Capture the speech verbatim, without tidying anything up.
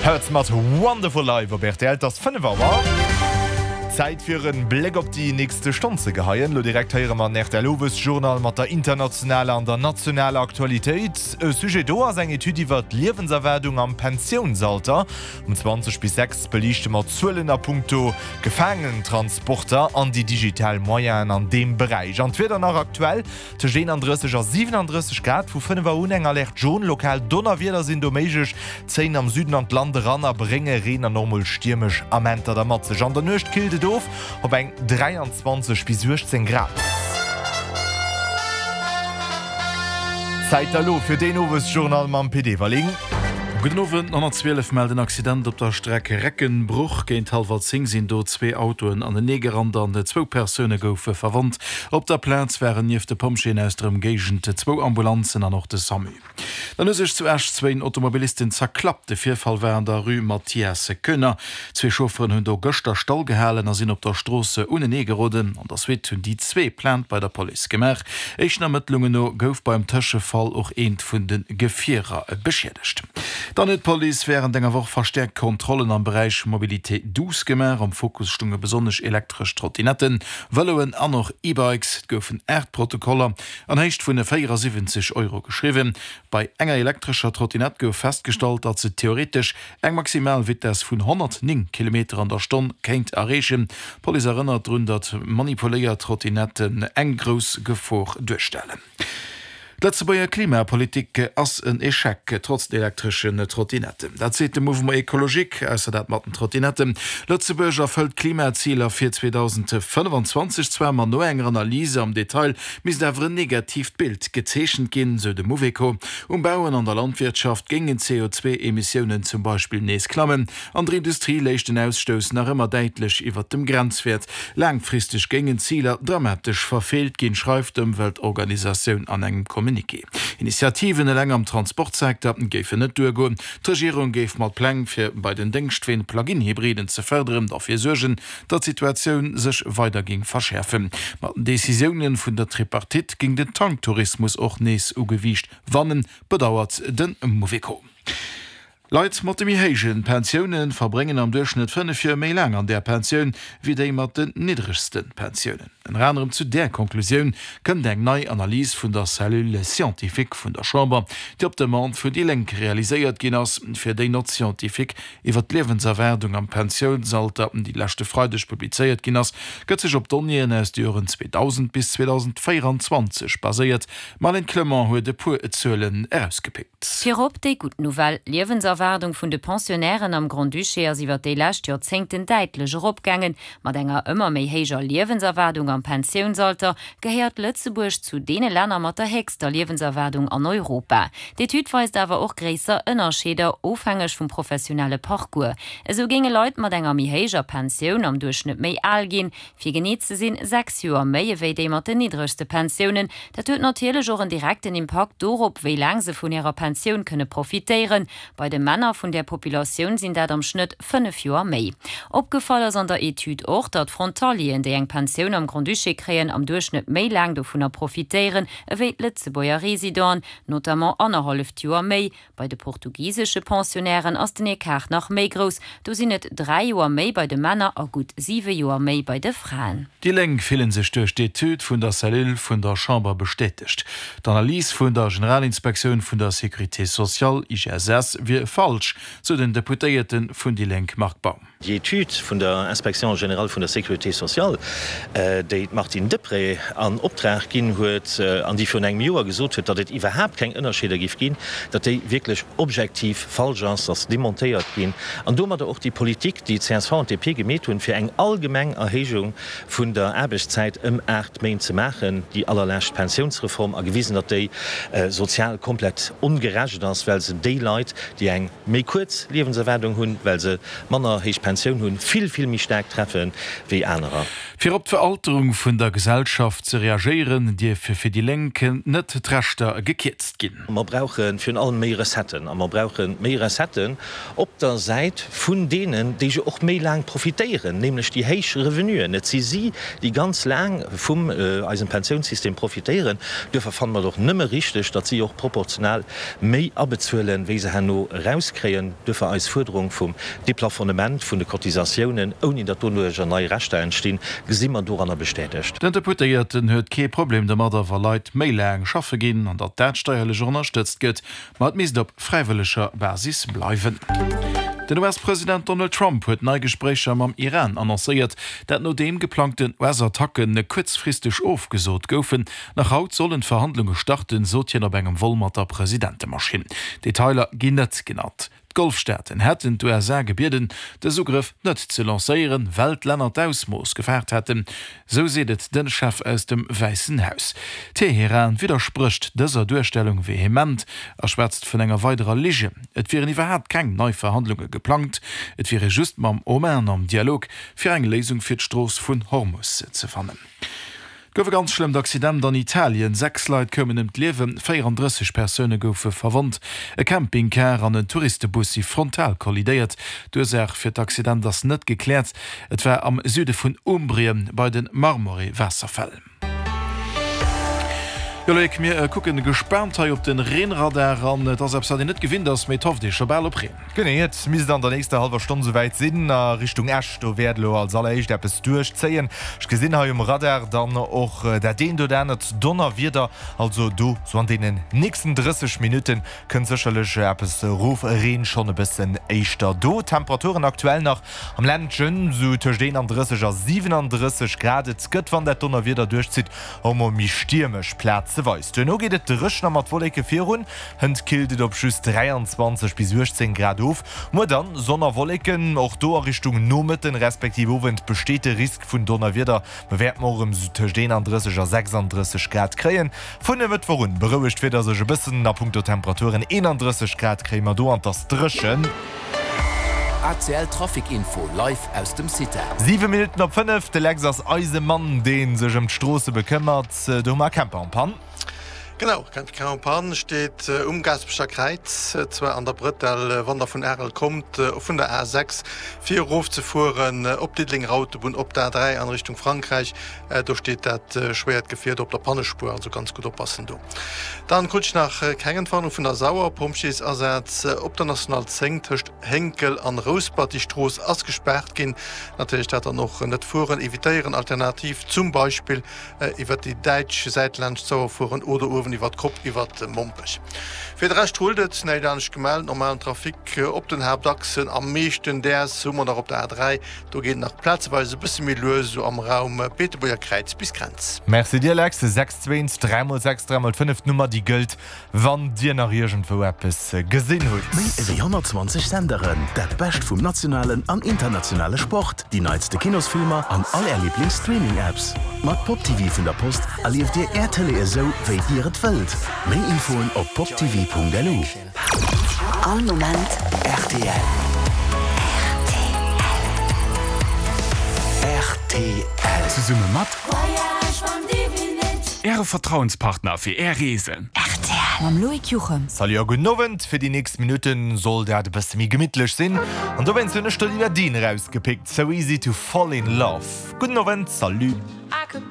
Hurts mat Wonderful Life op rtl. Et ass fënnef Auer. Zäit fir en Bléck op déi nächste Stonn ze geheien. Lo direkt héiere mer den rtl Owesjournal mat der internationaler an der nationaler Aktualitéit. E Sujet do ass eng Etüd iwwer d'Liewenserwaardung am Pensiounsalter. Um zwanzeg bis sechs beliichte mer Zuelen a punkto Gefaangenentransporter an déi digital Moyenen an deem Beräich. An d'Wieder nach aktuell, Tëscht eenandrësseg a siwenandrësseg Grad vu fënnef Auer un eng Alerte jaune. Lokal Donnerwieder sinn do méiglech, zéien am Süden an d'Land eran a brénge Reen an och mol stiermesch Amenter da mat sech. An der Nuecht killt et of op eng dräianzwanzeg bis uechtzéng Grad. Zäit da lo fir den Owesjournal mam Pit Everling. Gudden Owend, honnertzwielef mellt en Accident op der Streck Recken-Bruch. Géint hallwer zéng sinn do zwee Autoen anenee gerannt an zwou Persoune goufe verwonnt. Op der Plaz waren nieft de Pompjeeën aus der Ëmgéigend zwou Ambulanzen an och de Samu. Dann hu sech zu Esch zwéin Automobilisten zerklappt. De Virfall war an der Rue Mathias Koener. Zwee Chaufferen hunn do gëschter stall gehalen a sinn op der Strooss unenee geroden. An der Suite hunn déi zwee Plainte bei der Police gemaach. Éischten Ermëttlungen no gouf beim Tëschefall och eent vun de Gefierer beschiedegt. Dann huet d'Police wärend enger Woch verstäerkt Kontrollen am Beräich Mobilité douce gemaach. Am Fokus stounge besonnesch elektresch Trottinetten, Vëloen an och E-Bikes. Et goufen aacht Protokoller an Héicht vun véierasiwwenzeg Euro geschriwwen. Bei enger elektrescher Trottinett gouf festgestallt, datt se theoretesch eng maximal Vitess vun honnertnéng Kilometer an der Stonn kéint erreechen. D'Police erënnert drun, datt manipuléiert Trottinetten eng grouss Gefor duerstellen. D'Lëtzebuerger Klimapolitik ass en Echec, trotz den elektreschen Trottinetten. Dat seet de Mouvement Ecologique. Ausser dat mat den Trottinetten. Lëtzebuerg erfëllt d'Klimaziler fir zweedausendfënnefanzwanzeg zwar, ma no enger Analyse am Detail misst awer en negatiivt Bild gezeechent ginn, sou de Mouveco. Um Bau an an der Landwirtschaft géingen d'C O zwee Emissiounen zum Beispill nees klammen. An der Industrie léich den Ausstouss nach ëmmer däitlech iwwert dem Grenzwäert. Laangfristeg géingen d'Ziler dramatesch verfeelt ginn, schreift d'Ëmweltorganisatioun an engem Communiqué. Initiativen eleng am Transportsecteur géifen net duergoen. D'Regierung géif mat Pläng, fir bei den Déngschtween Plug-in-Hybriden ze fërderen, derfir suergen, datt d'Situatioun sech weider géing verschäerfen. Mat den Decisioune vun der Tripartite géing den Tanktourismus och nees u Gewiicht wannen, bedauert de Mouveco. Leit mat de méi héije Pensioune verbréngen am Duerchschnëtt fënnef Joer méi laang an där Pensioun, wéi déi mat den niddregste Pensiounen. Ënner anerem zu där Konklusioun kënnt eng nei Analys vun der Cellule scientifique vun der Chamber, déi op Demande vun déi Lénk realiséiert ginn ass. Fir déi Note scientifique iwwer d'Liewenserwaardung am Pensiounsalter, déi leschte Freideg publizéiert ginn ass, gëtt sech op Donnéeën aus de Joren zweedausend bis zweedausendvéierundzwanzeg baséiert. D'Marlène Clement huet e puer Zuelen erausgepickt. Virop déi gutt Nouvelle, D'Liewenserwaardung vun de Pensionnairen am Grand-Duché ass iwwer déi lescht Joerzéngten däitlech eropgaangen. Mat enger ëmmer méi héijer Liewenserwaardung am Pensiounsalter gehéiert Lëtzebuerg zu deene Länner mat der héchster Liewenserwaardung an Europa. D'Etüd weist awer och gréisser Ënnerscheeder, ofhängeg vum professionelle Parcours. Esou géinge Leit mat enger méi héijer Pensioun am Duerchschnëtt méi al ginn, fir genee ze sinn, sechs Joer méi ewéi déi mat den niddregste Pensiounen. Dat huet natierlech och en direkten Impakt dorop, wéi laang se vun hirer Pensioun kënne profitéieren. Bei de Männer vun där Populatioun sinn dat am Schnëtt fënnef Joer méi. Opgefall ass an der Etüd och, datt Frontalieren, déi eng Pensioun am Grand-Duché kréien, am Duerchschnëtt méi laang dovunner profitéieren ewéi d'Lëtzebuerger Residenten, notamment annerhalleft Joer méi. Bei de portugisesche Pensionnairen ass den Ecart nach méi grouss, do sinn et dräi Joer méi bei de Männer a gutt siwe Joer méi bei de Fraen. Déi Lénk fillen sech duerch d'Etüd vun der Cellule vun der Chamber bestätegt. D'Analys vun der Generalinspektioun vun der Sécurité sociale, I G S S, wier falsch, sou den Deputéierte vun déi Lénk Marc Baum. Déi Etüd vun der Inspection générale vun der Sécurité sociale, déi d'Martine Deprez an Optrag ginn huet an déi virun engem Joer gesot huet, datt et iwwerhaapt keng Ënnerscheeder géif ginn, datt déi wierklech objektiv falsch ass, ass demontéiert ginn an domadder och déi Politik, déi csv an D P gemeet hunn, fir eng allgemeng Erhéijung vun der Aarbechtszäit ëm aacht Méint ze maachen, déi allerlescht Pensiounsreform, a gewisen, datt déi sozial komplett ongerecht ass, well se déi Leit, déi eng méi kuerz Liewenserwaardung hunn, well se manner héich Pensioun hunn, vill, vill méi staark treffe wéi anerer. Fir op d'Veralterung vun der Gesellschaft ze reagéieren, dierfe fir déi Lénk net d'Rechter gekierzt ginn. Mer brauche virun allem méi Recetten a mer brauche méi Recetten op der Säit vun deenen, déi jo och méi laang profitéieren, nämlech déi héich Revenuen. Et si si, déi ganz laang vum eisem Pensiounssystem profitéieren. Duerfir fanne mer et och nëmme richteg, datt si och proportional méi abezuelen, wéi se herno eraus. erauskréien. Duerfir eis Fuerderung vum Deplafonnement vun de Cotisatiounen, ouni datt doduercher nei Rechter entstinn, gesi mer doranner bestätegt. Den Deputéierten huet kee Problem domadder, wa Leit méi laang schaffe ginn an datt dat steierlech och ënnerstëtzt gëtt, ma et misst op fräiwëlleger Basis bleiwen. Den U S-President Donald Trump huet nei Gespréicher mam Iran annoncéiert, dat nodeem geplangten U S-Attacken kuerzfristeg ofgesot goufen. Nach haut sollen d'Verhandlunge starten, sot hien op engem Vol mat der Presidentemaschinn. Detailer ginn net genannt. D'Golfstaaten hätten d'U S A gebieden, dës Ugrëff net ze lancéieren, well d'Länner d'Ausmooss gefaart hätten, sou seet et de Chef aus dem Wäissen Haus. Teheran widdersprécht dëser Duerstellung vehement a schwätzt vun enger weiderer Ligen. Et wieren iwwerhaapt keng nei Verhandlunge geplangt, et wier ee just mam Oman am Dialog, fir eng Léisung fir d'Strooss vun Hormus ze fannen. Et gouf e ganz schlëmmt Accident an Italien, Sechs Leit koumen ëm d'Liewen, véierandrësseg Persoune goufe verwonnt. E Campingcar an en Touristebus si frontal kollidéiert. D'Ursaach fir d'Accident ass net gekläert. Et war am Süde vun Umbrien bei de Marmore-Waasserfäll. Jo Loïc, mir kucken gespaant hei op den Reenradar an et ass eppes wat een net gewinnt ass, mee et hofft ee scho bal op Reen. Genee, et misst an der nächster hallwer Stonn souwäit sinn a Richtung Esch. Do wäert elo als alleréischt eppes duerchzéien. Ech gesinn hei um Radar dann och dat eent oder anert Donnerwieder. Also do sou an deenen nächsten drësseg Minutte kënnt sécherlech eppes erof. Reen schonn e bëssen éischter do. Temperaturen aktuell nach am Ländchen sou tëscht eenandrësseg a siwenandrësseg Grad. Et gëtt, wann dat Donnerwieder duerchzitt, och mol méi stiermesch plazeweis. Duerno geet et dréchen a mat Wolleke virun. Hënt killt et op just dräianzwanzeg bis uechtzéng Grad of. Muer dann Sonn a Wolleken, och do a Richtung Nomëtten respektiv Owend besteet de Risk vun Donnerwieder. Mer wäerten och erëm sou tëscht eenandrësseg a sechsandrësseg Grad kréien. Vun e Mëttwoch un berouegt d'Wieder sech e bëssen a punkto Temperaturen, eenandrësseg Grad kréie mer do an 't ass dréchen. A C L Trafic Info live aus dem CITA. Siwe Minutten op fënnef, de Lex ass eise Mann, dee sech ëm d'Stroosse bekëmmert. Do hu mer e Camper en panne. Genau, Camper en panne steet um Gaasperecher Kräiz, zwar an der Brëtell, wann der vun Arel kommt, vun der A sechs fir erof ze fueren op d'Diddelenger Autobunn, op d'A dräi an Richtung Frankräich. Do steet dat schwéiert Gefier do op der Pannespuer, also ganz gutt oppassen do. Dann krut ech nach keng Entwarnung vun der Sauer, Pompjeesasaz op der National zéng tëscht Hénkel an Rouspert, déi Strooss ass gespaart ginn. Natierlech dat dann och net fueren evitéieren, alternativ zum Beispill iwwert déi däitsch Säit laanscht d'Sauer fueren oder uewen iwwert d'Kopp iwwert Mompech. Fir de Rescht rullt et, näischt anescht gemellt, normalen Trafic op den Haaptachsen. Am meeschten däers hu mer nach op der A dräi, do geet et nach plazeweis e bësse méi lues, esou am Raum Beetebuerger Kräiz bis Grenz. Merci dir Lex. Sechs zwee dräi mol sechs dräi mol fënnef, d'Nummer déi gëllt wann dir nach iergendwou eppes gesinn hutt. Méi ewéi honnertzwanzeg Senderen, dat Bescht vum nationalen an internationale Sport, déi neitste Kinosfilmer an all Är Liiblings-Streaming-Apps. Mat Pop T V vun der Post erlieft Dir Är Tëlee esou, wéi Dir et wëllt. Méi Infoen op poptv Punkt L U. All Moment R T L. R T L. Zesumme mat Äre Vertrauenspartner fir Är Reesen. R T L. Mam Loïc Juchem. Salut a gudden Owend. Fir déi nächst Minutten soll dat e bësse méi gemittlech sinn. An dowéinst hunn ech der Lidd Deen erausgepickt, So Easy to Fall in Love. Gudden Owend, salut.